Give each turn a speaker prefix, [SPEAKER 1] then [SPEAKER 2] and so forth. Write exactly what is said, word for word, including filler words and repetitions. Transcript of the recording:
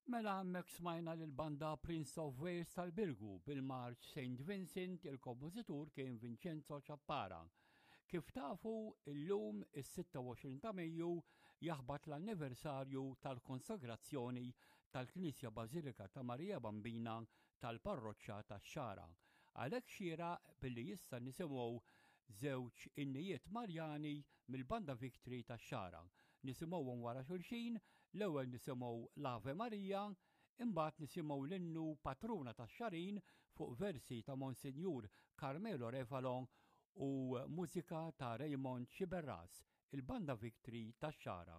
[SPEAKER 1] Mela hemmhekk smajna lill-banda Prince of Wales tal-Birgu bil-marċ Saint Vincent, il-kompożitur kien Vincenzo Ciappara. Kif tafu, illum is-sitta u għoxrin ta' Mejju jaħbat l-anniversarju tal-konsagrazzjoni tal-Knisja Bażilika ta' Marija Bambina tal-Parroċċa tax-Xagħra. Għalhekk xieraq billi issa nisimgħu żewġ innijiet Marjani mill-Banda Victory tax-Xagħra. Nisimgħuhom wara xulxin, l-ewwel nisimgħu l-Ave Maria, imbagħad nisimgħu l-innu Patruna tax-Xagħrin fuq versi ta' Monsinjur Carmelo Refalo u mużika ta' Raymond Sciberras, il-Banda Victory tax-Xagħra.